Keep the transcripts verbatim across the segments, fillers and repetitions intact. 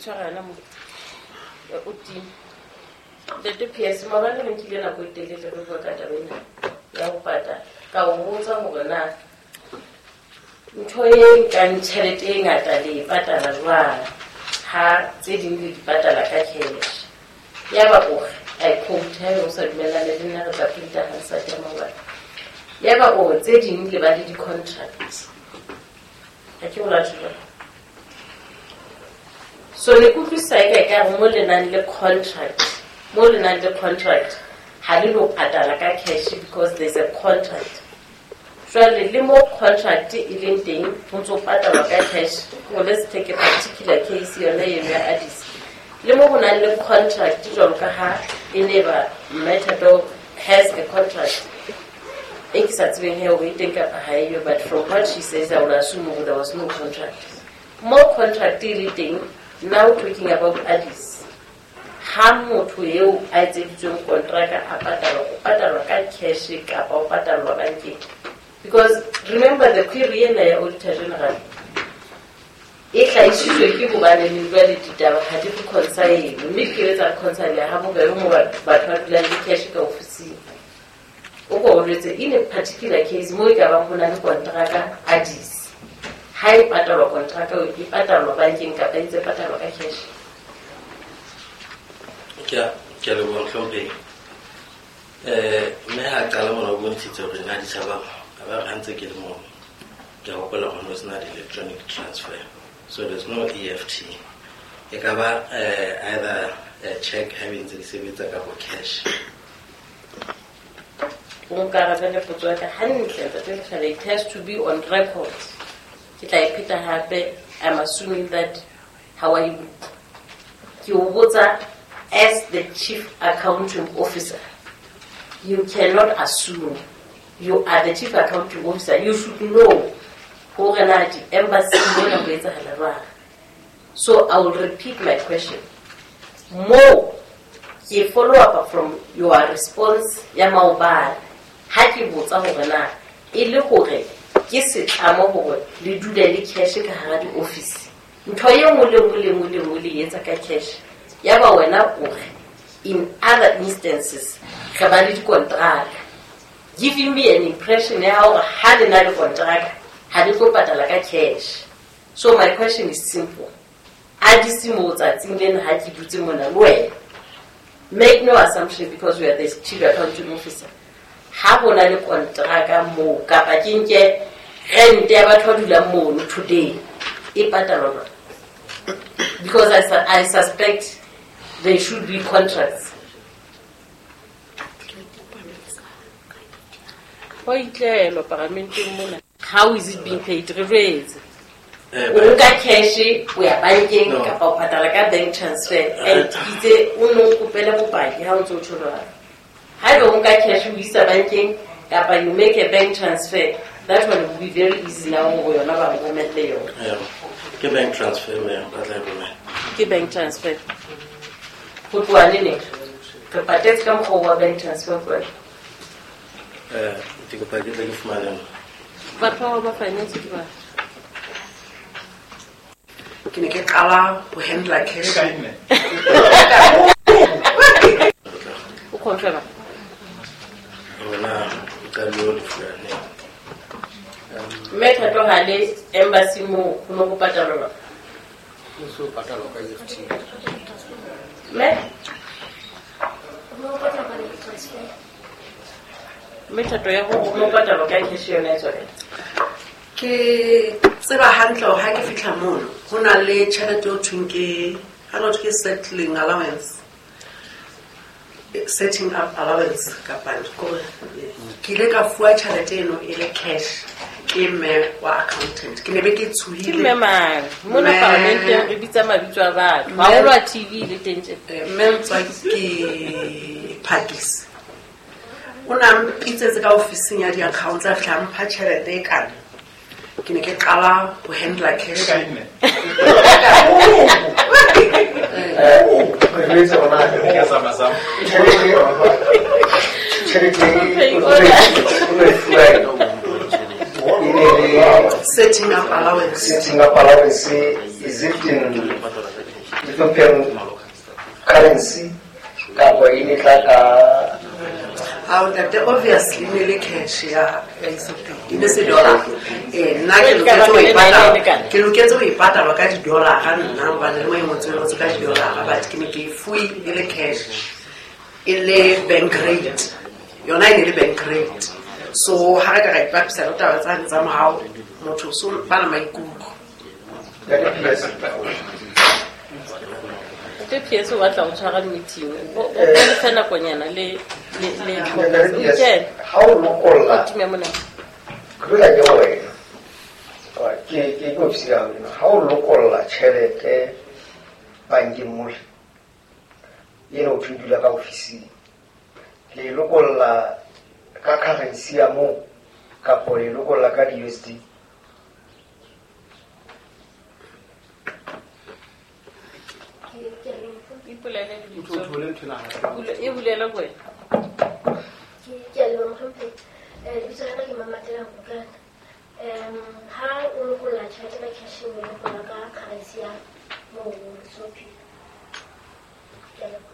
Tshwarana mo o timi. Ntate P S, maobane re nkile nako e telele re bua ka taba ena ya ho patala. Ka o botsa hore na ntho e nkang tjhelete e ngata le e patala jwang ha tse ding le di patala ka cash. Yaba o re, I quote, haebe o sa dumellane le nna, re tla printa Hansard ya maobane. Yaba o re tse ding le ba le di-contracts. Ha ke o rate jwalo. So ne ke utlwisisa eka ekare mo le nang le contract, mo le nang le contract ha le lo patala ka cash because there's a contract. Jwale le mo contract e leng teng ho ntso patalwa ka cash. Well, let's take a particular case, yona eno ya Addis. Le mo ho nang le contract, jwalo ka ha e ne ba Mme Thato has a contract e ke sa tsebeng he hore e teng kapa ha eyo, but from what she says, I would assume hore there was no contract. Mo contract e le teng, now talking about Addis, ha motho eo a etseditsweng kontraka a patalwa, o patalwa ka cash kapa o patalwa bankeng? Because remember, the query ena ya Auditor General e hlahisitswe ke hobane le jwale ditaba ha di reconcile, mme di kebe tsa reconcile ha bobebe mo batho ba dulang le cash ka ofising. O ko o jwetse, in a particular case mo e ka bang ho na le kontraka Addis, ha e patalwa kontraka eo, e patalwa bankeng kapa e ntse e patalwa ka cash? Ke a ke a leboha, mohlomphehi. um mme ha qala mona o bontshitse hore nna Addis Ababa a ba re ha ntse ke le moo, ke a hopola hore no sena di-electronic transfer, so there's no E F T. E ka ba uh, either uh, check ha e ntse di sebetsa kapa cash. O nkarabele potso ya ka hantle, ntate Lekgele. It has to be on record. Ke tla e pheta hape. I'm assuming that ha wa e utlwa. Ke o botsa as the chief accounting officer. You cannot assume. You are the chief accounting officer, you should know hore na di-embassy mona ho etsahala jwang. So I will repeat my question. Mo ke follow up from your response ya maobane ha ke botsa hore na e le hore ke setlamo hore le dule le cash ka hara di-office, ntho e nngwe le nngwe le nngwe le nngwe le e etsa ka cash. Yaba wena o re in other instances re ba le dikontraka, giving me an impression ya hore ha le na le kontraka ha le tlo patala ka cash. So my question is simple. Addis mo tsatsing lena ha ke dutse mona le wena, make no assumption because we are the chief accounting officer, ha ho na le kontraka moo kapa ke nke rent ya batho ba dulang mono today, e patalwa jwang? Because I, su- I suspect there should be contracts. Ho itlelwa paramenteng mona. How is it being paid? Re jwetse. Eh, O nka cash o ya bankeng No. kapa o patala ka bank transfer? And itse o no nkopele bopaki ha o ntse o tjho jwalo. Haeba o nka cash o isa bankeng kapa you make a bank transfer, that one will be very easy now hore yona ba romelle yona. Eh, ke bank transfer mme ba tla e romela. Ke bank transfer ho tloha neneng? Re patetse ka mokgwa wa bank transfer feela? Eh, ke kopa ke tle ke fumane. Batho bao ba finance ke ba Ke ne ke qala ho handla cash. O confirma. Rona o qadile ho lefuwa neng? Mme Thato, ha le embassy moo ho no ho patalwa jwang? Ho so patalwa ka E F T. Mme Ho patalwa ka bank transfer. Mme Thato, ya hore ho no patalwa ka cash yona e tswa kae? Ke tseba hantle hore ha ke fihla mono ho na le tjhelete eo thweng ke ha no ke settling allowance, Eh, setting up allowance kapa kore ke ile ka fuwa tjhelete eno e le cash ke mme wa accountant. Ke ne be ke Ke tshohile. Mme mang mona? Mme- Parlamenteng re bitsa mabitso a batho. Mme- Haholo a T V le teng tje. Eh, mme Ntswaki Phakisi o na mpitsetse ka ofising ya di-accounts, a fihla a mpha tjhelete e kana. Ke ne ke qala ho handla cash. Re jwetse hore na tjhelete tjhelete o no e fuwa e ne le Setting up allowance. Setting up allowance, is it in Ethiopian currency kapa e ne tla ka Ha ntate, obviously ne le cash ya ya Ethiopia. E ne se dollar. Eh nna ke loketse ho e patala. Ke loketse ho e patala ka di-dollar ha nna hobane le mo e ngotsweng ngotswe ka di-dollar, but ke ne ke e fuwe e le cash. E le bank rate. Yona e ne le bank rate. So ha re ka ra ipapisa le taba tsane tsa morao, motho o so ba na maikutlo. Ntate P S. Ntate P S o batla ho tshwara meeting. O o le fa nakonyana le le le Ntate o P S, kene. ha o lokolla O time mona. Ke tlo tla ke ho wena. Ke ke ke ofisi ya hao ena. Ha o lokolla tjhelete bankeng mole, ena o thwe dula ka ofising, le lokolla ka currency ya moo kapo le lokolla ka di-U S D? Ipolele lebitso. E bulela ko wena. Ke a leboha mohlomphehi. Eh, lebitso la ka ke Mamatela Nkukana. Um, ha o lokolla tjhelete ka cash, o lokolla ka currency ya moo Ethiopia. Ke a leboha.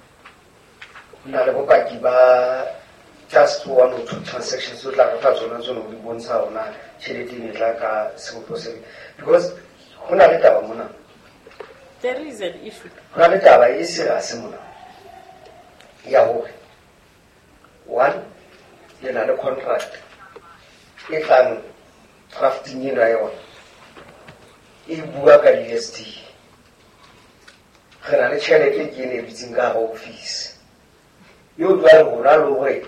Ho na le bopaki ba just one or two transactions tse o tla re fa tsona tsone ho di bontsha hore na tjhelete e ne tla ka sebopeho se feng. Because ho na le taba mona. There is an issue. Ho na le taba e serious mona ya hore one, le na le contract e tlang drafting ena ya yona e bua ka di-U S D. Re na le tjhelete ke ena e dutseng ka hara office. Eo jwale rona le hore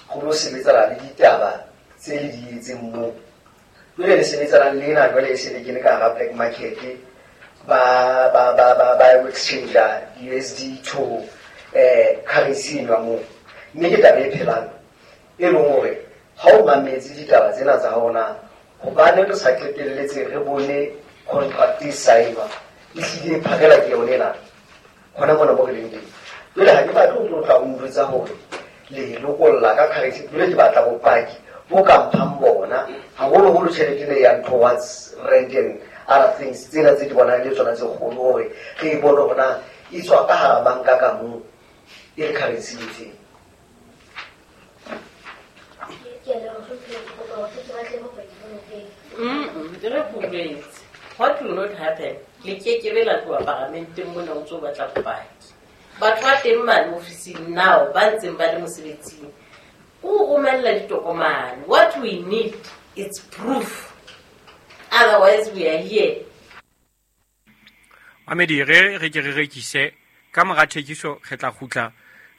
ho lo sebetsana le ditaba tse le di etseng moo. Jwale le sebetsana le ena jwale e se le kene ka hara black market, ba ba ba ba ba exchange U S D to eh currency eno ya moo. Mme ke taba e phelang e leng hore ha o mametse ditaba tsena tsa hao na, hobane re sa qetelletse re bone contract e sign-wa, e hlile e phakela ke yone ena hona mona mo re leng teng. Jwale ha ke batle ho tlo tla o njwetsa hore le lokolla ka currency. Jwale ke batla bopaki bo ka mphang bona, haholoholo tjhelete ena e yang towards rent and other things tsena tse di bonang le tsona tse kgolo, hore re e bone hore na e tswa ka hara banka ka moo e le currency e feng. Ke a leboha mohlomphehi. Ke kopa hore ke batle bopaki bo pele. Mm, re boletse. What will not happen? Le kekebe la tloha paramenteng mona o ntso batla bopaki. Batho ba teng mane ofising now ba ntseng ba le mosebetsing, o romella ditokomane. What we need is proof. Otherwise we are here. Mamedi, re re ke re rekise ka mora thekiso, re tla kgutla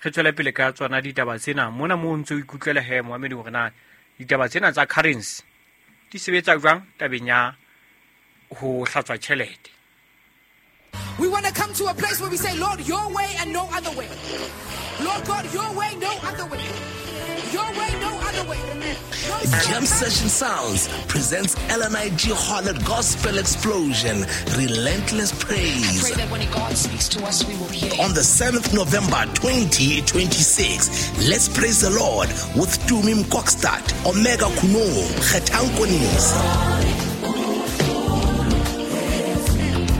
re tswele pele ka tsona ditaba tsena. Mona mo o ntse o ikutlwela he Mohamedi hore na ditaba tsena tsa currency di sebetsa jwang tabeng ya ho hlatswa tjhelete. We want to come to a place where we say, Lord, your way and no other way. Lord God, your way, no other way. Your way, no other way. No Jam Session Sounds presents L N I G Harlot Gospel Explosion, Relentless Praise. I pray that when God speaks to us, we will hear. On the seventh of November twenty twenty-six, let's praise the Lord with Tumi Mkokstad, Omega Kuno, Kgetang Konisi,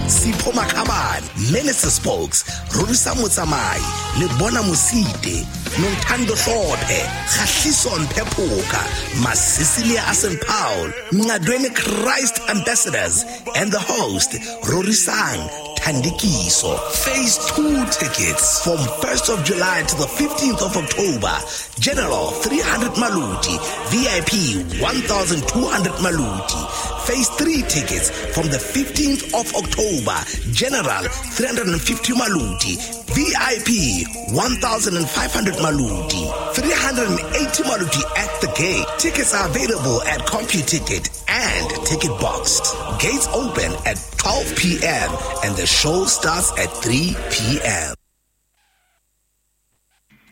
Sipho Makhabane, Minister Spokes, Rorisa Motsamai, Lebona Mosite, Nontando Hlophe, Kgahliso Mpephoka, Masisilia Asen Paul, Ngadweni Christ Ambassadors, and the host, Rorisang Thandikiso. Phase two tickets from first of July to the fifteenth of October. General three hundred Maluti, V I P one thousand two hundred Maluti. Phase three tickets from the fifteenth of October. General three hundred fifty Maluti, V I P one thousand five hundred Maluti, three hundred eighty Maluti at the gate. Tickets are available at CompuTicket and Ticket Box. Gates open at twelve p.m. and the show starts at three p.m.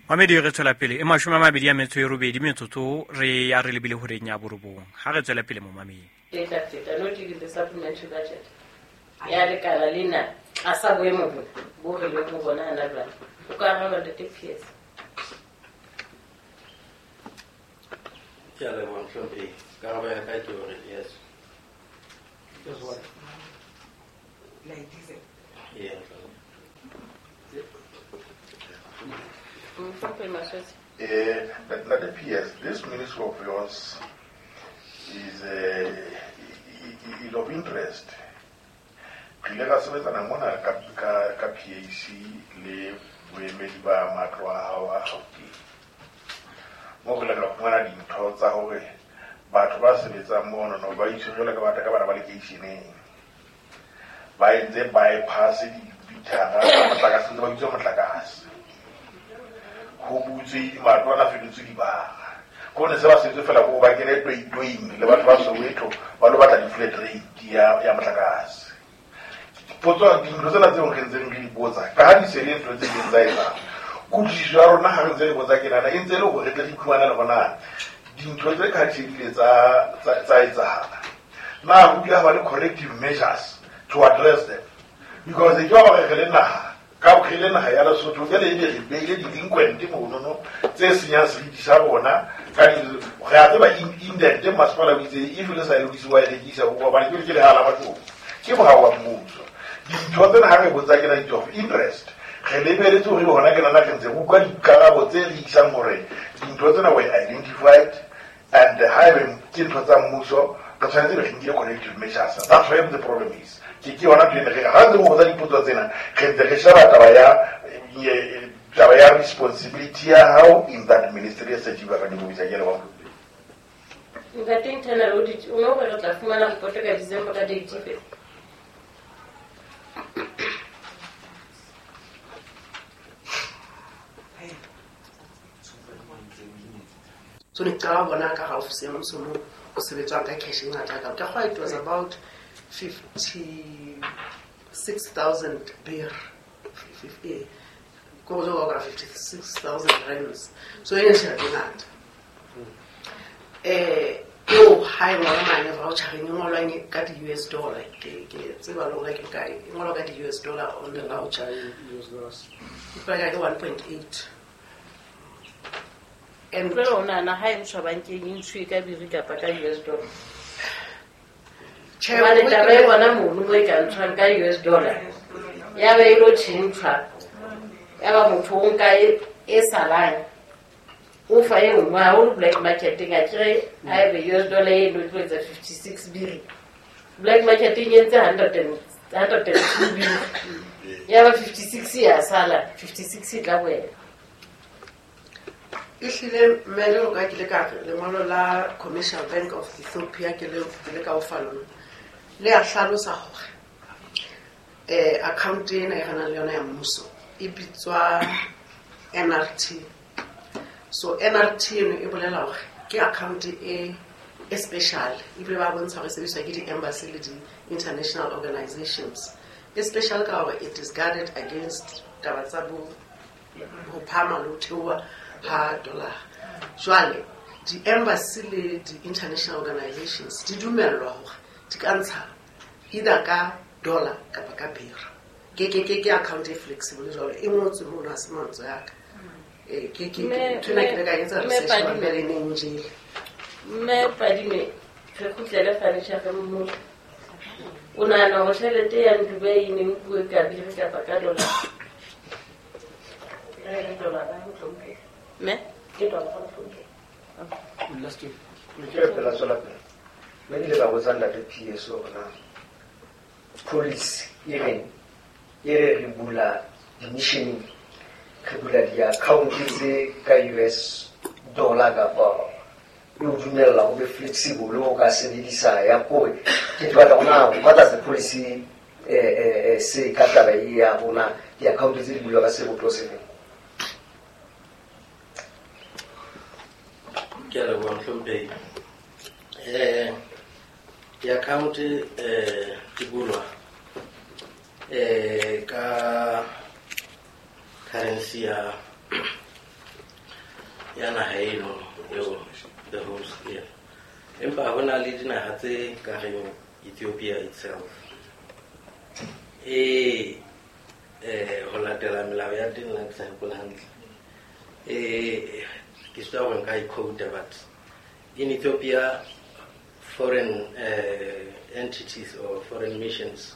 Mamedi, re tswela pele e mashome a mabedi a metso e robedi metsotso re ya re lebile horeng ya borobong. Ha re tswela pele mo mamedi. Feta feta not even the supplementary budget. Ya lekala lena tlasa boemo bona bo re leng ho bona hana jwale. O ka araba Ntate P S. Ke a leboha mohlomphehi. Karabo ya ka ke hore yes. Yes, what? Like diesel. Yeah. Mohlomphehi Maswetsi. Eh, Ntate P S, this ministry of yours is, uh, is of interest. Re ile ra sebetsana mona ka, ka, ka P A C le boemedi ba matlo a hao a Gauteng. Mo re ile ra fumana dintho tsa hore batho ba sebetsang mono no ba iswe jwalo ka batho ka bana ba lekeisheneng. Ba entse bypass dibithara tsa motlakase, ntse ba bitsa motlakase. Ho butswe matlo ana fetotswe dibara. Ko ne se ba setse fela ko ba kene toitoing le batho ba Soweto ba lo batla di-flat rate ya, ya motlakase. Potso dintho tsena tseo re ntseng re di botsa ka ha di se le ntho tse ileng tsa etsahala. Kutlwisiso ya rona ha re ntse re botsa ke nana e ntse e le hore re tle re iphumane le hore dintho tse ka di ile tsa, tsa, tsa etsahala. Na ho kile ha ba le corrective measures to address them? Because e ke ba re re le naha, ka re le naha ya Lesotho jwale ebe re beile di-delinquent monono tse senyang seriti sa rona ka di, re a tseba indent masepala o itse if le sa e lokise wa e rekisa hobane ke ke lehae la batho. Ke molao wa mmuso. Dintho tsena ha re botsa ke na of interest. Re lebeletse hore hona ke nana re ntse re utlwa dikarabo tse re isang hore dintho tsena were identified and haebe ke ntho tsa mmuso re tshwanetse re nkile corrective measures. That's where the problem is. Ke ke yona ntho ena re ha ntse re botsa dipotso tsena re ntse re sheba taba ya taba ya responsibility ya hao in that ministry ya Sejiba ka dibobisa ke le wa. Ntate internal audit o no re tla fumana report ka December ka date efe? So ne ke qala ho bona ka hara ofisi ya mmuso moo o sebetswang ka cash e ngata ka. Ke kgolwa it was about fifty-six thousand birr. Fifty, ko go ka fifty-six thousand rands. So e ne tjhelete e ngata. Eh, eo ha e ngolwa mane voucher-eng e ngolwang ka di-U S dollar. Ke, ke tseba le hore ke bokae. E ngolwa ka di-U S dollar on the voucher. U S dollars. E paka ke one point eight. And jwale o nahana ha e ntshwa bankeng e ntshuwe ka biri kapa ka U S dollar? Tjhe, Hobane ho taba e ke- bona mono mo e ka ntshwang ka U S dollar, ya ba e lo tjhentjhwa, ya ba motho o nka e, e salang, o fa e nngwe, haholo black market-eng, akere ha ebe U S dollar e no tlo etsa fifty-six biri. Black market-eng e entse hundred and, hundred and two biri. Ya ba fifty-six ya sala, fifty-six e tla boela. Ehlile mme jwalo ka ke ile ka re lengolo la Commercial Bank of Ethiopia ke le, ke le ka o fa lona. Le a hlalosa hore, eh, account ena e re nang le yona ya mmuso e bitswa N R T. So N R T eno e bolela hore ke account e, e special, ebile ba bontsha hore e sebediswa ke di-embassy le di-international organizations. E special ka hore it is guarded against taba tsa bo, ho phahama le ho theoha ha dollar. Jwale di-embassy le di-international organizations di dumellwa hore di ka ntsha either ka dollar kapa ka birr. Ke, ke, ke, ke account e flexible jwalo, e ngotswe mono, ha se mantswe a ka. Eh, ke, ke, ke, Mme, ntho ena ke ile ka etsa mme research Padime. hobane pele e ne e njele. Mme Padime, re kgutlele furniture mmoho. O nahana hore tjhelete ya Ndube e ne nkuwe ka birr kapa ka dollar? Eh, dollar, ha mohlomphehi. Mme? Ke dollar, ha mohlomphehi. Last week. Ke pela tswela pele. Mme ke ile ka botsa ntate P S hore na policy e reng, e re re bula di-mission, re bula di-account tse ka U S dollar kapa e o dumella o be flexible o ka sebedisa ya kore. Ke batla ho na what does the policy, eh, eh, eh, say ka taba e ya rona di-account tse di bulwa ka sebopeho se feng? Ke a leboha mohlomphehi. Eh, di-account, eh, di bulwa, eh, ka currency ya, ya naha eno eo the host, yeah. Empa ho na le dinaha tse ka reng Ethiopia itself e, eh, ho latela melao ya teng la ke sa hopola hantle. Eh, ke sitwa hore nka e quote, but in Ethiopia foreign, eh, entities or foreign missions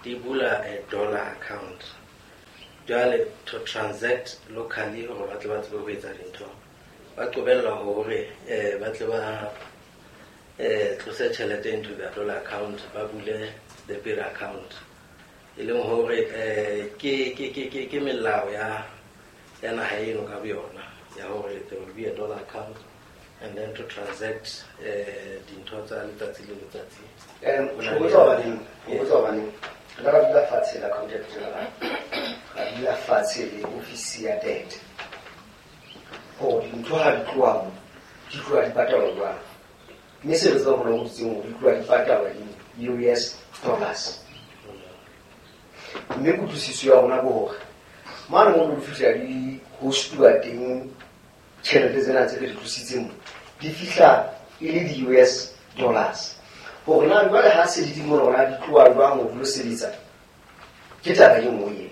di bula a dollar account. Jwale to transact locally hore ba tle ba tsebe ho etsa dintho, ba qobella hore eh ba tle ba eh tlose tjhelete into their dollar account, ba bule the birr account. E leng hore eh ke ke ke ke ke melao ya ya naha eno ka boyona ya hore there will be a dollar account and then to transact eh dintho tsa letsatsi le letsatsi. Um ho botsa hobaneng, ho botsa hobaneng re ka dula fatshe la Accountant General, ra dula fatshe le ofisi ya debt hore dintho ha di tloha mo di tloha di patalwa jwang, mme se re tsebang hore ho dutseng hore di tloha di patalwa in U S dollars. Mme kutlwisiso ya rona ke hore mane mo di fihla di hostuwa teng tjhelete tsena tse re di tlositseng mo di fihla e le di U S dollars. Hore na jwale ha se di di mo rona di tloha jwang ho lo sebetsa ke taba e nngwe eo.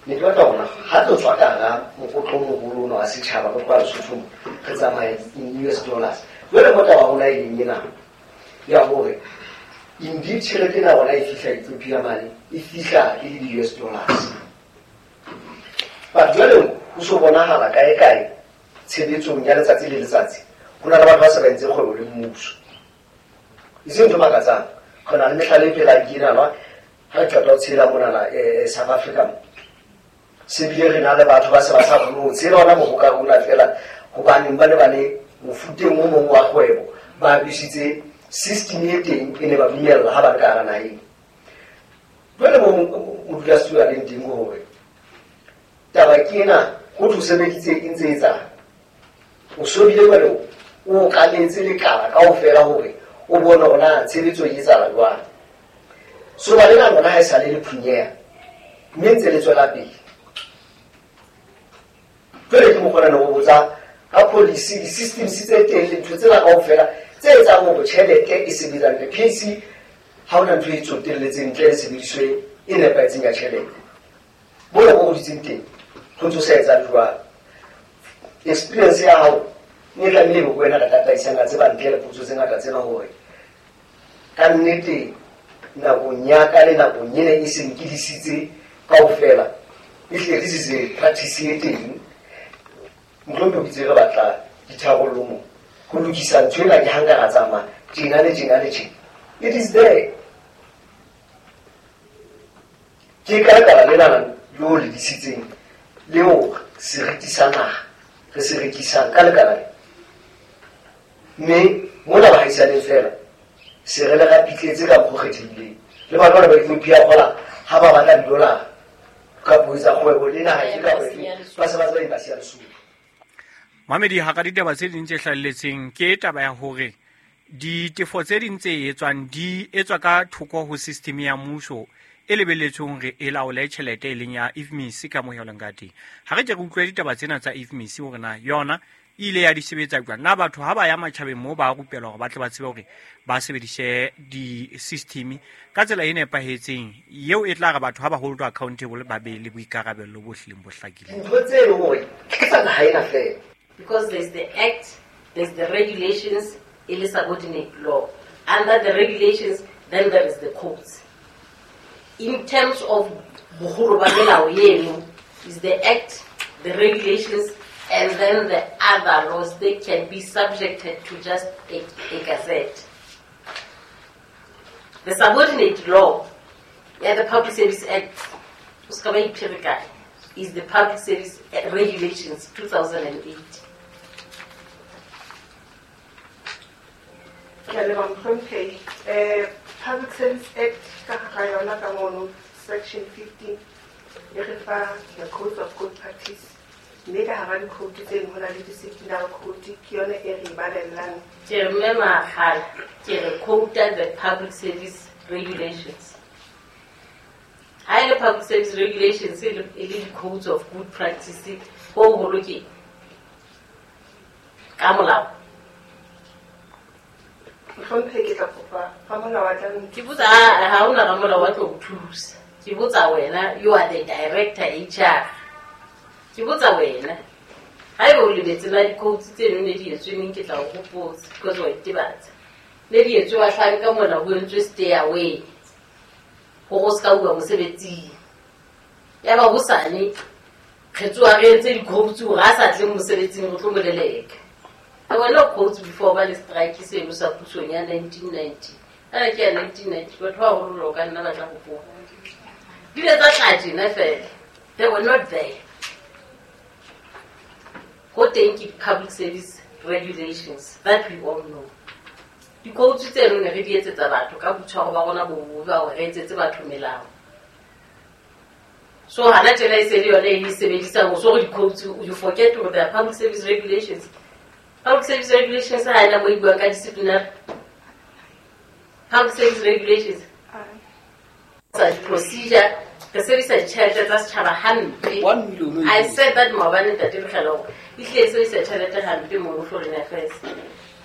Ne ke batla hore ha tlo tswa ka hara mokotlo o moholo ona wa setjhaba re tloha Lesotho mo re tsamaya in U S dollars. Jwale mo taba rona e leng ena ya hore indeed tjhelete ena rona e fihla Ethiopia mane e fihla e le di U S dollars. But jwale ho so bonahala kae kae tshebetsong ya letsatsi le letsatsi ho na le batho ba sa ba entse kgwebo le mmuso. E seng ntho e makatsang, re na le mehlala e phelang ke ena ha re qeta ho tshela monana eh South Africa mo. Se bile re na le batho ba se ba sa kgone ho tshela ona mohoka ona fela hobaneng ba ne ba le mofuteng o mong wa kgwebo ba abusitse system e teng e ne ba dumella ha ba le ka hara naheng. Jwale mo modulasetulo a leng teng ke hore taba ke ena ho thwe o sebeditse e ntse e etsang. O so bile jwale o okametse lekala kaofela hore o bone hore na tshebetso e etsahala jwang. So ba lena lona ha e sale le phunyeha mme ntse le tswela pele. Jwale ke mokgwa ona o botsa ka policy, di-systems tse teng le ntho tsena kaofela tse etsang hore tjhelete e sebetsa hantle. P A C ha hona ntho e tsotelletseng ntle le tshebediso e nepahetseng ya tjhelete. Mona mo o dutseng teng ho ntso sa etsahale jwalo. Experience ya hao e tlamehile ebe ko wena ka tataisang ka tseba ntle le potso tse ngata tsena hore ka nnete nakong ya ka le nakong ena e seng ke disitse kaofela ehlile this is a practice e teng. Mohlomong o itse re batla ditharollo mo ho lokisa ntho ena ke ha nka ra tsamaya tjena le tjena le tjena. It is there. Ke ka lekala lena leo le disitseng leo seriti sa naha re se rekisang ka lekala le. Mme mona baahisaneng fela se re le rapitletse ka mokgwa o kgethehileng. Le batho bana ba Ethiopia kgola ha ba batla di-dollar ka ho etsa kgwebo le naha e ka ba se ba tseba embassy ya Lesotho. Mamedi hara ditaba tse ding tse hlahelletseng ke taba ya hore ditefo tse ding tse etswang di etswa ka thoko ho system ya mmuso e lebelletsweng hore e laole tjhelete e leng ya I F M I S ka mohelong ka teng. Ha re ke re utlwe ditaba tsena tsa I F M I S hore na yona e ile ya di sebetsa jwang. Na batho ha ba ya matjhabeng moo ba rupelwa hore ba tle ba tsebe hore ba sebedise di-system ka tsela e nepahetseng eo e tla re batho ha ba hold accountable ba be le boikarabello bo hlileng bo hlakileng. Ntho tse leng hore ke tsa naha ena fela. Because there's the act, there's the regulations, it is subordinate law. Under the regulations, then there is the codes. In terms of boholo ba melao eno, is the act, the regulations, and then the other laws, they can be subjected to just a, a gazette. The subordinate law, yeah, the Public Service Act, is the Public Service Regulations two thousand eight. Ke a leboha mohlomphehi. Eh, Public Service Act ka hara yona ka mono section fifteen e re fa the codes of good practice. Mme ka hara di-code tseno ho na le disciplinary code ke yona e re balellang. Ke re mme Makgala, ke re quota the Public Service Regulations. Ha e le Public Service Regulations e le e le di-codes of good practice ho holo ke ka molao. Mohlomphehi ke tla kopa ramolao wa tla Ke botsa ha hona ramolao wa tlo o thusa. Ke botsa wena, you are the director H R. Ke botsa wena. Haeba o lebetse na di-codes tseno ne di etswe neng ke tla o hopotsa because wa itebatsa. Ne di etswe bahlanka mona ho entswe stay away. Hore o ska bua mosebetsing. Ya ba hosane re tsoha re entse di-quotes hore a sa tle mosebetsing re tlo mo leleka. There were no quotes before ba le strike seno sa pusong ya nineteen ninety. A ke ya nineteen ninety, batho ba baholo ka nna ba tla hopola. Di ile tsa tla tjena fela. They were not there. Ho teng ke public service regulations that we all know. Di-quotes tseno ne re di etsetsa batho ka boitshwaro ba rona bo bobe ba hore re etsetse batho melao. So hana tjena e se le yone e sebedisang ho so re di-quotes, you forget hore there are public service regulations. Public service regulations ha ena mo e buang ka disciplinary. Public service regulations. Sa procedure, re sebedisa ditjhelete tsa setjhaba hampe. I said that maobane ntate Lekgela hore e hlile e sebedisa tjhelete hampe mono Foreign Affairs.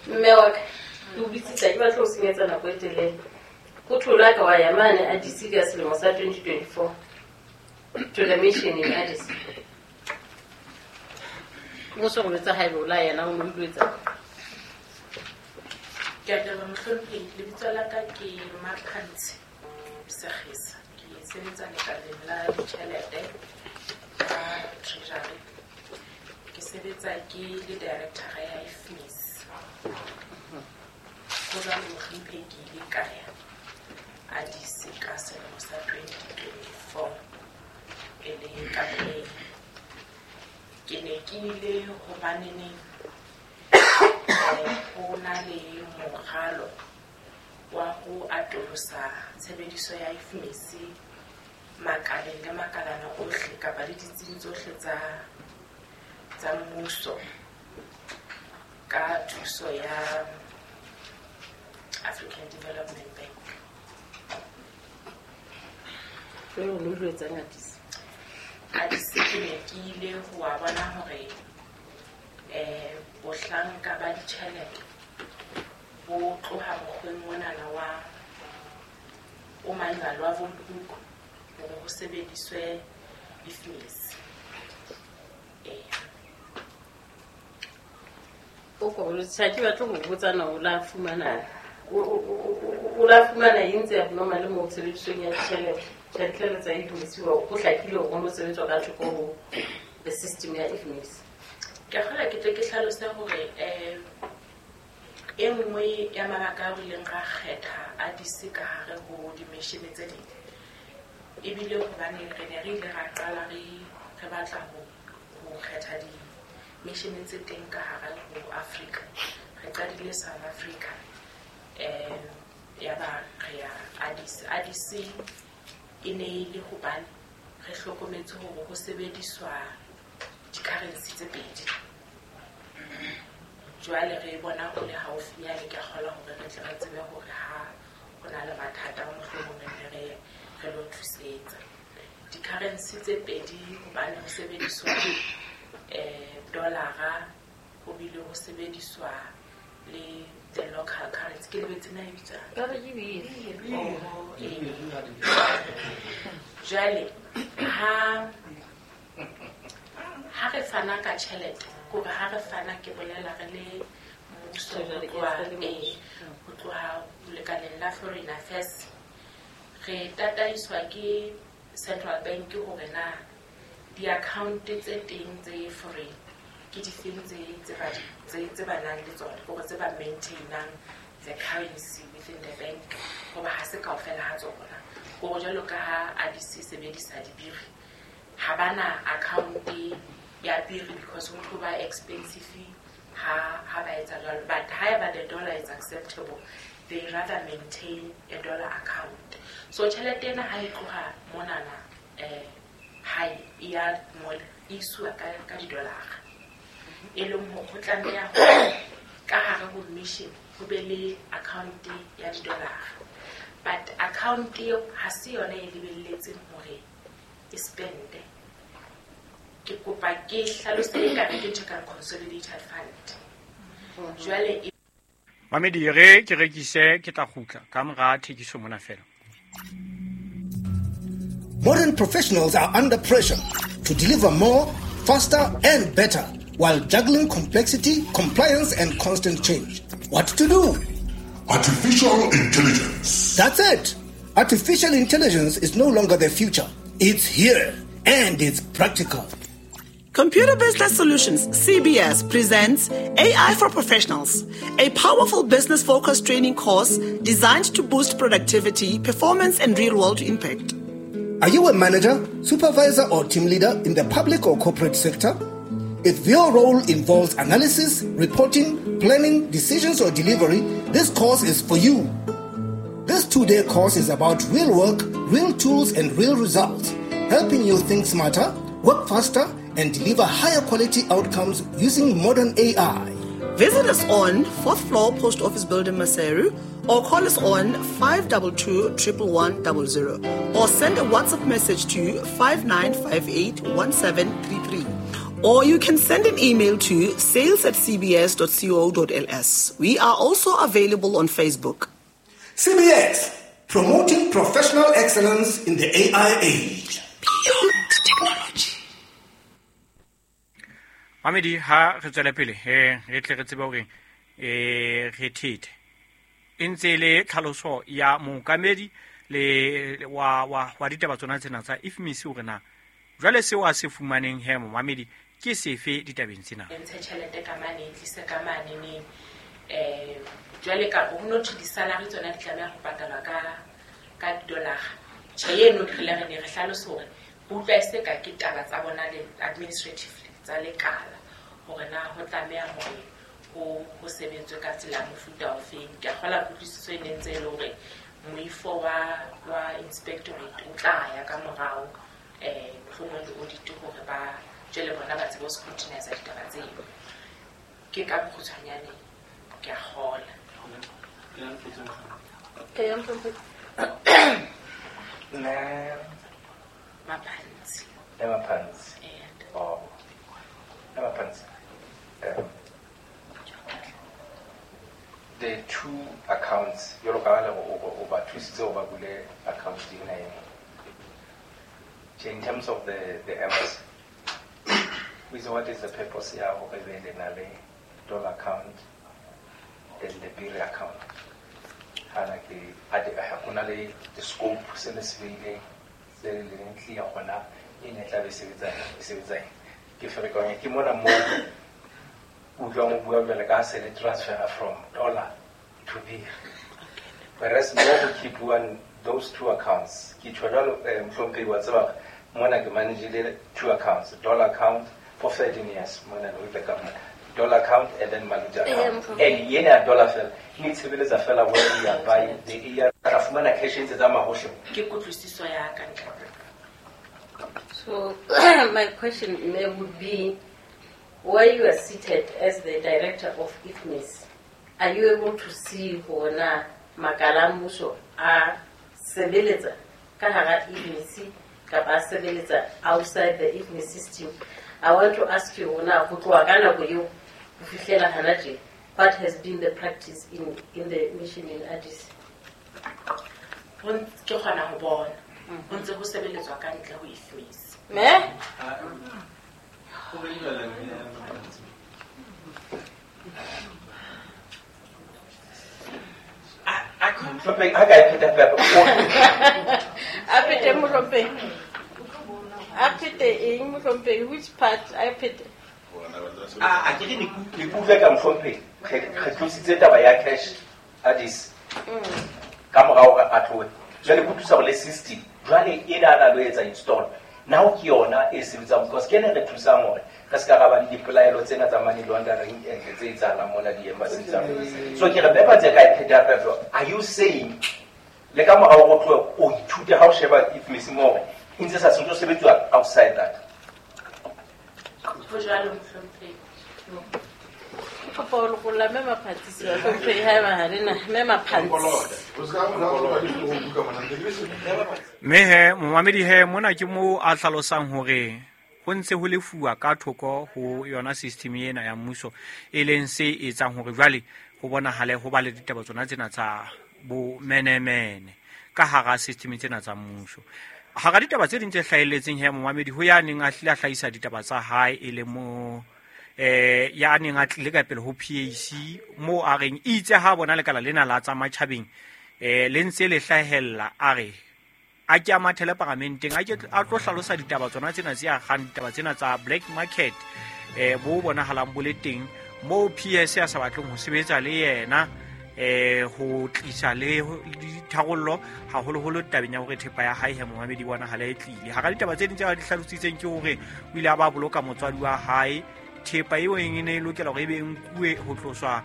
Mme wa ka, ke o bitsitse, ke batla ho senyetsa nako e telele. Ho thola ka wa ya mane Addis ka selemo sa twenty twenty-four to the mission in Addis. O so go tsa haebe o la yena o mo utlwetsa. Ke a leboha mohlomphehi, lebitso la ka ke Maphantshe Segesa. Ke sebetsa lekaleng la ditjhelete ka Treasury. Ke sebetsa ke le director ya I F M I S. Ho jwalo mohlomphehi, ke ile ka ya Addis ka selemo sa twenty twenty-four e le ka pele. Ke ne ke ile hobaneneng ho na le moralo wa ho atolosa tshebediso ya I F M I S makaleng le makalana ohle kapa le ditsing tsohle tsa tsa mmuso ka thuso ya African Development Bank. Jwale o no etsang Addis? Addis ke ne ke ile ho wa bona hore eh bohlanka ba ditjhelete bo tloha mokgweng monana wa o manual wa book hore ho sebediswe I F M I S. Eh o ko re tsa ke batla ho botsa na o la fumana o la fumana eng tse abnormal mo tshebedisong ya ditjhelete? Tjhelete tsa I F M I S ho hlakile hore ho sebetswa ka thoko ho the system ya I F M I S. Ke kgolwa ke tle ke hlalose hore eh e nngwe ya mabaka a re ileng ra kgetha Addis ka hare ho di-mission tse ding ebile hobane re ne re ile ra qala re re batla ho ho kgetha di-mission tse teng ka hare ho Africa. Re qadile South Africa eh ya ba re ya Addis. Addis e ne e le hobane re hlokometse hore ho sebediswa di-currency tse pedi. Jwale re bona ho le haufinyane, ke a kgolwa hore re tle re tsebe hore ha ho na le mathata mohlomong re re re lo thusetsa. Di-currency tse pedi hobane ho sebediswa eh dollara, ho bile ho sebediswa le the local currency. Ke lebetse na e bitswang? Ba re ke biri. Jwale ha ha re fana ka tjhelete, kore ha re fana ke bolela re le mmuso ho tloha lekaleng la Foreign Affairs, re tataiswa ke Central Bank hore na di-account tse teng tse foreign ke difeng tse tse ba tse tse ba nang le tsona, hore tse ba maintainang the currency within the bank, hoba ha se kaofela ha tsona. Hore jwalo ka ha Addis e sebedisa dibiri, ha bana account ya biri because ho tlo ba expensive ha ha ba etsa jwalo. But however the dollar is acceptable, they rather maintain a dollar account. So tjhelete ena ha e tloha monana eh hae e ya mole e iswa ka ka di-dollar. E leng hore ho tlameha hore ka hare ho mission ho be le account ya di-dollar. But account eo ha se yona e lebelletseng hore e spende. Ke kopa ke hlalose ekare ke ntho e kang consolidated fund. Jwale e Mamedi re ke rekise ke tla kgutla ka mora thekiso mona fela. Modern professionals are under pressure to deliver more, faster and better while juggling complexity, compliance and constant change. What to do? Artificial intelligence. That's it. Artificial intelligence is no longer the future. It's here. and it's practical. Computer Business Solutions, C B S, presents A I for Professionals, a powerful business-focused training course designed to boost productivity, performance, and real-world impact. Are you a manager, supervisor, or team leader in the public or corporate sector? If your role involves analysis, reporting, planning, decisions, or delivery, this course is for you. This two-day course is about real work, real tools, and real results, helping you think smarter, work faster, and deliver higher quality outcomes using modern A I. Visit us on fourth floor Post Office Building, Maseru, or call us on five two two, one one one zero, or send a WhatsApp message to five nine five eight, one seven three three. Or you can send an email to sales at c b s dot co dot l s. We are also available on Facebook. C B S, promoting professional excellence in the A I age. Beyond technology. Mamedi, ha re tswela pele, eh, re tle re tsebe hore, eh, re thethe. E ntse le tlhaloso ya mookamedi le wa wa wa ditaba tsona tsena tsa I F M I S hore na jwale seo a se fumaneng he momamedi ke sefe ditabeng tsena. E ntshe tjhelete ka mane, e tlise ka mane neng. Eh, jwale ka ho no thwe di-salary tsona di tlameha ho patalwa ka, ka di-dollar. Tjhe, eno re ile re ne re hlalose hore re utlwa e se ka ke taba tsa bona le administratively tsa lekala hore na ho tlameha hore ho, ho sebetswe ka tsela ya mofuta ofeng. Ke a kgolwa kutlwisiso e ne ntse e le hore moifo wa, wa inspectorate o tla ya ka morao, eh, mohlomong le audit hore ba jwale bona ba tsebe ho scrutinize ditaba tseo. Ke ka bokgutshwanyane ke a kgola. Okay, I'm from Nna Maphansi. Le Maphansi. Eh. Oh. Le Maphansi. Um, the two accounts, jwalo ka ha le o, o ba thusitse ho ba bule account ena e nngwe. In terms of the, the embassy, with what is the purpose ya hore be le na le dollar account and the bill account? Hana ke a di, ha hona le the scope se le se beileng, se le leng clear hona e ne tla be sebetsa, e sebetsa eng. Ke ferekanya ke mona moo utlwang o bua jwale ka se le transfer from dollar to bill. Whereas mo go keep-uwang those two accounts, ke tjho jwalo, eh, mohlomphehi wa tseba mona ke manage-ile two accounts, dollar account for thirteen years mona with the government, dollar account and then Maluti Eh, account. mohlomphehi. And yena dollar fela, e ne tshebeletsa fela where we are buying the A R, ra fumana cash e ntse tsamaya hohle. Ke kutlwisiso ya ka ntate. So my question may would be, where you are seated as the director of I F M I S, are you able to see hore na makala a mmuso a sebeletsa ka hara I F M I S kapa a sebeletsa outside the I F M I S system? I want to ask you hore na ho tloha ka nako eo ho fihlela hana tje, what has been the practice in, in the mission in Addis? Ho ntse ke kgona ho bona. Ho ntse ho sebeletswa ka ntle ho I F M I S. Me? Mohlomphehi, ha ka e pheta feela, A phete mohlomphehi. A phete eng mohlomphehi? Which part a phete? A, a ke re ne ke, ne ke utlwa ka mohlomphehi, re, re tlositse taba ya cash Addis. Mm. Ka morao hore a tlohe. Jwale ke utlwisa hore le system, jwale ena a na lo etsa install. Now ke yona e sebetsang because ke ena e re thusang hore re ska ra ba le dipelaelo tsena tsa money laundering and tse etsahalang mona di-embassy tsa rona. So ke re Mephatse ka e pheta feela. Are you saying le ka morao ho tlohe o ithute ha o sheba I F M I S mo hore e ntse sa sentse ho sebetsuwa outside that? Ho jwalo mohlomphehi. Ke kopa ho lokolla mme Maphatsi, bahlomphehi, haeba ha le na, mme Maphatsi. Mme he, momamedi he, mona ke moo a hlalosang hore ho ntse ho lefuwa ka thoko ho yona system ena ya mmuso, e leng se etsang hore jwale ho bonahale ho ba le ditaba tsona tsena tsa bomenemene ka hara system tsena tsa mmuso. Hara ditaba tse ding tse hlahelletseng he momamedi, ho ya neng a hlile a hlahisa ditaba tsa hae e le mo, eh, ya neng a tlile ka pele ho P A C, moo a reng itse ha bona lekala lena la tsa matjhabeng, eh, le ntse le hlahella, a re a ke a mathele paramenteng a ke a tlo hlalosa ditaba tsona tsena tse akgang ditaba tsena tsa black market eh bo bonahalang bo le teng moo P S a sa batleng ho sebetsa le yena eh ho tlisa le ditharollo haholoholo tabeng ya hore thepa ya hae he momamedi bonahala e tlile. Hara ditaba tse ding tse ba di hlalositseng ke hore o ile a ba boloka motswadi wa hae, thepa eo e ne e lokela hore e be nkuwe ho tloswa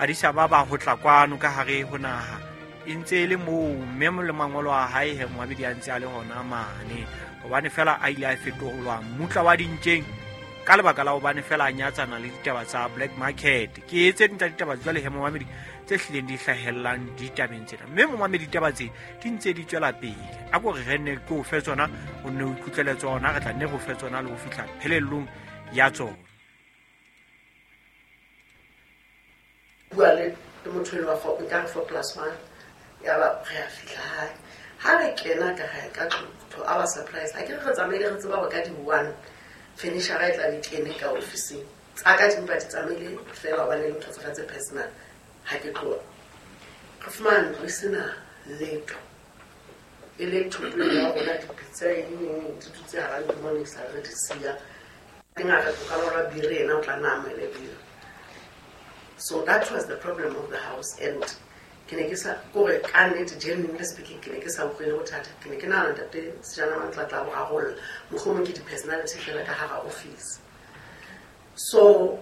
Addis Ababa ho tla kwano ka hare ho naha e ntse e le moo, mme le mangolo a hae he momamedi a ntse a le hona mane hobane fela a ile a fetolwa mmutla wa dintjeng ka lebaka la hobane fela a nyatsana le ditaba tsa black market. Ke tse ding tsa ditaba jwale he momamedi tse hlileng di hlahellang ditabeng tsena, mme momamedi ditaba tse di ntse di tswela pele. A ko re re nne ke o fe tsona, o nne o ikutlwele tsona, re tla nne re o fe tsona le ho fihla phelellong ya tsona. Bua le motho enwa four nkare four plus one ya ba re a fihla hae. Ha re kena ka hae ka tlung, to our surprise, ha ke re re tsamaile re tseba hore ka di-one furniture e tla be kene ka ofising. Tsa ka di mpa di tsamaile fela hobane le ntho tsa ka tse personal. Ha ke tloha re fumana ntlo e sena letho, e le thoto ya rona, dipitsa eng eng di dutse hara ntlo mona e sa re di siya. Teng a re tloka lora biri ena o tla nna amohele biri. So that was the problem of the house, and ke ne ke sa kore ka nnete, genuinely speaking, ke ne ke sa utlwele bothata. Ke ne ke nahana ntate Sejana Mantla tla bo rarolla, mohlomong ke di-personality fela ka hara office. So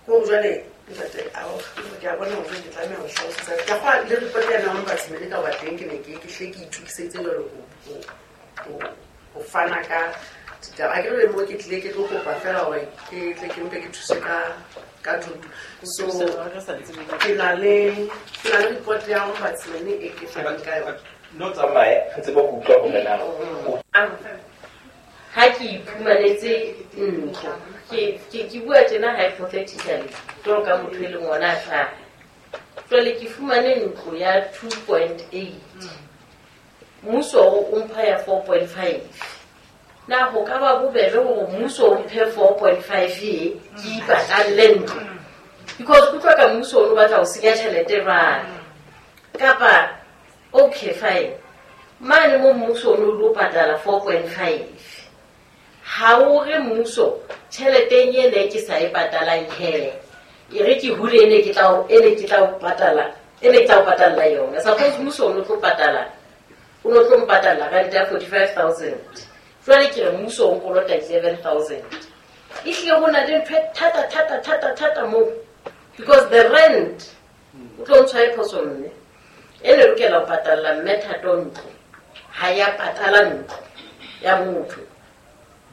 ko jwale ntate ke a bona hore ke tlameha ho hlalosetsa. Ke a kgolwa le report ya ombudsman ka hoba teng ke ne ke ke hle ke itokisetse jwalo ho ho fana ka ditaba. Ha ke re mo ke tlile ke tlo kopa fela hore ke tle ke mpe ke thuse ka ka thuto. So ke na le ke na le report ya ombudsman e ke fanang ka yona. No tsamaye re tsebe ho utlwa hore na ha ke iphumanetse ntlo ke ke ke bua tjena hypothetically jwalo ka motho e leng ona a hlaha. Jwale ke fumane ntlo ya two point eight, mmuso o mpha ya four point five. Na ho ka ba bobebe hore mmuso o mphe four point five e ke ipatalle ntlo, because kutlwa ka mmuso o batla ho senya tjhelete jwale. Kapa okay fine, mane mo mmuso o lo patala four point five, ha o re mmuso tjheleteng ene ke sa e patalang he, e re ke hule ene ke tla ene ke tla o patala ene ke tla o patalla yona. Suppose mmuso o no tlo patala, o no tlo mpatalla rent ya forty-five thousand, jwale ke re mmuso o nkolota eleven thousand. Ehlile ho na le ntho e thata thata thata thata moo, because the rent o tlo ntshwa e phoso mme e ne lokela ho patalla mme Thato ntlo, ha ya patala ntlo ya motho.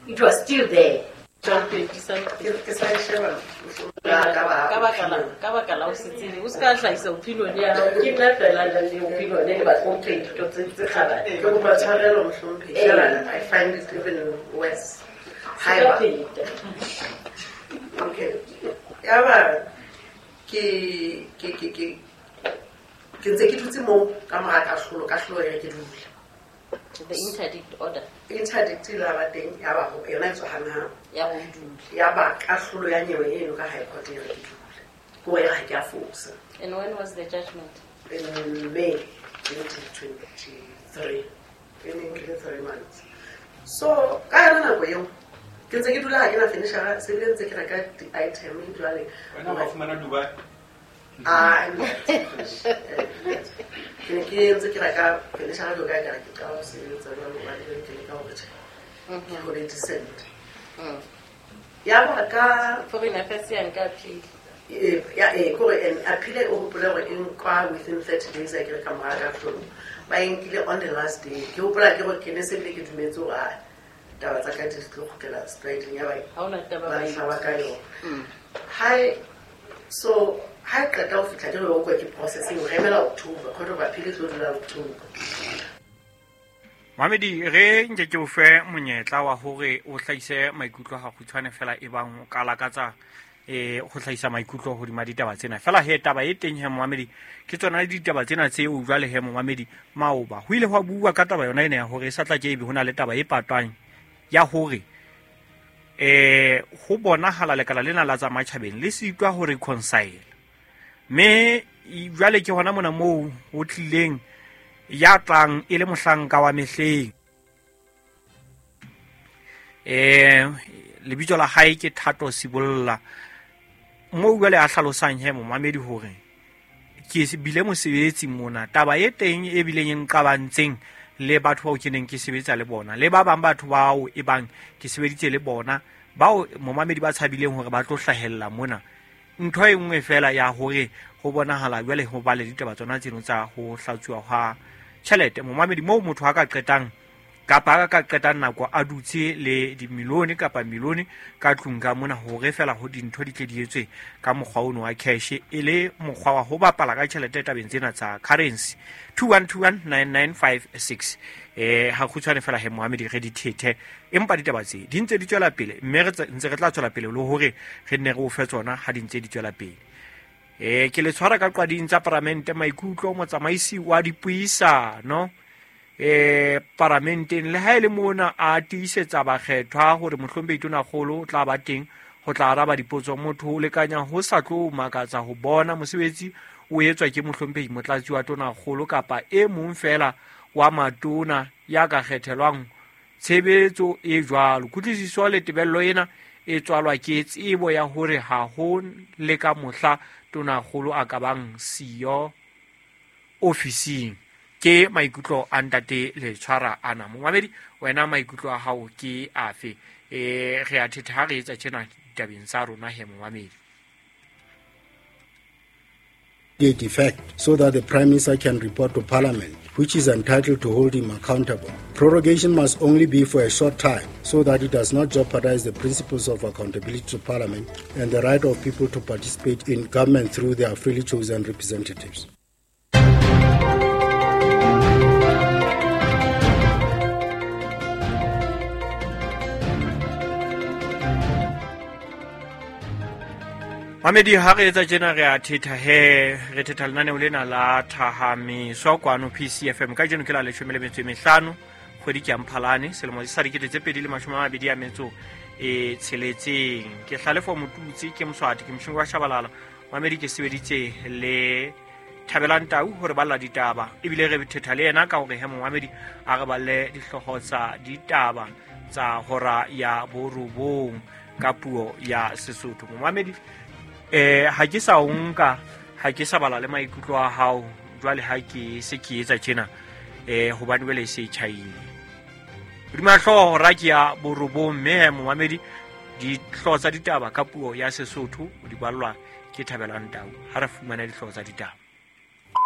It was still there. Ke sa e sheba ka baka la ka baka la o se tsebe, o se ka hlahisa opinion ya hao. Ke nna fela le opinion e bahlomphehi ditho tse tse kgabane. Ke kopa tshwarelo mohlomphehi, fela I find it even worse. Haeba okay, ya ba ke ke ke ke ke ntse ke dutse moo ka mora kahlolo, kahlolo e re ke dule. The interdict order. Interdict e la ba teng ya ba ho yona e tswa hanghang. Ya ho dule. Ya ba kahlolo ya nyewe eno ka High Court e re ke dule. Ke hore ha ke a fosa. And when was the judgment? In May twenty twenty-three. E ne nkile three months. So ka yona nako eo ke ntse ke dula ha ke na furniture, se bile ntse ke reka di-item jwale. Wena wa fumana Dubai? Ah, ke ne ke ntse ke reka furniture jwalo ka ekare ke qala ho sebetsa jwalo hobane jwale ke leka hore tjhe, ke hole decent. Ya ba ka Foreign Affairs ya nka appeal. Ya eh kore and appeal o hopole hore e nkwa within thirty days a ke re ka mora kahlolo. Ba e nkile on the last day. Ke hopola ke hore ke ne se bile ke dumetse hore ah taba tsa ka di tlo kgutlela straight ya ba Ha hona taba ba ba hlaba ka yona. Hae so ha e qeta ho fihla ke re o kwa ke processing re emela October, Court of Appeal e tlo dula October. Mamedi re nke ke o fe monyetla wa hore o hlahise maikutlo ha kgutshwane fela e bang o ka lakatsa eh ho hlahisa maikutlo hodima ditaba tsena. Fela he taba e teng he momamedi ke tsona ditaba tsena tseo jwale he momamedi maoba ho ile hwa bua ka taba yona ena ya hore e sa tla ke ebe hona le taba e patwang ya hore eh ho bonahala lekala lena la tsa matjhabeng le sitwa ho reconcile. Mme jwale ke hona mona moo ho tlileng Ya tlang e le mohlanka wa mehleng. Eh lebitso la hae ke Thato Sibolla. Mo jwale a hlalosang he momamedi hore ke bile mosebetsi mona taba e teng e bileng e nqabantseng le batho bao ke neng ke sebetsa le bona le ba bang batho bao e bang ke sebeditse le bona bao momamedi ba tshabileng hore ba tlo hlahella mona. Ntho e nngwe fela ya hore ho bonahala jwale ho ba le ditaba tsona tseno tsa ho hlatsuwa ha tjhelete momamedi moo motho a ka qetang kapa a ka qetang nako a dutse le dimilione kapa milione ka tlung ka mona hore fela ho dintho di tle di etswe ka mokgwa ono wa cash e le mokgwa wa ho bapala ka tjhelete tabeng tsena tsa currency. Two one two one nine nine five six. Eh ha kgutshwane fela he Mohammed re di thethe empa ditaba tse di ntse di tswela pele mme re ntse re tla tswela pele le hore re nne re o fe tsona ha di ntse di tswela pele. Eh ke le tshwara ka qwading tsa paramente maikutlo motsamaisi wa dipuisano eh paramenteng le ha ile mona a tiisetsa bakgethwa hore mohlomphehi Tonakgolo o tla ba teng ho tla araba dipotso. Motho o lekanya ho sa tlo makatsa ho bona mosebetsi o etswa ke mohlomphehi motlatsi wa Tonakgolo kapa e mong fela wa matona ya ka kgethelwang tshebetso e jwalo. Kutlwisiso le tebello ena e tswalwa ke tsebo ya hore ha ho le ka mohla Tonakgolo a ka bang siyo ofising. Ke maikutlo a ntate le tshwara ana momamedi wena maikutlo a hao ke afe? Eh re a thetha ha re etsa tjena ditabeng tsa rona he momamedi. Effect so that the Prime Minister can report to Parliament, which is entitled to hold him accountable. Prorogation must only be for a short time so that it does not jeopardize the principles of accountability to Parliament and the right of people to participate in government through their freely chosen representatives. Mamedi ha re etsa tjena re a thetha he re thetha lenaneo lena la Thahamiso kwano P C F M kajeno ke la leshome le metso e mehlano kgwedi ke ya Mphalane selemo sa dikete tse pedi le mashome a mabedi a metso e tsheletseng. Ke Hlalefo Motutsi ke Moswati ke Moshingo wa Shabalala. Mamedi ke sebeditse le Thabelang Tau hore balla ditaba ebile re thetha le yena ka hore he momamedi a re balle dihlooho tsa ditaba tsa hora ya borobong ka puo ya Sesotho. Momamedi eh ha ke sa nka ha ke sa bala le maikutlo a hao jwale ha ke se ke etsa tjena eh hobane wele se tjhaile hodima hlooho hora ke ya borobong mme momamedi dihlooho tsa ditaba ka puo ya Sesotho di ballwa ke Thabelang Tau. Ha re fumana dihlooho tsa ditaba.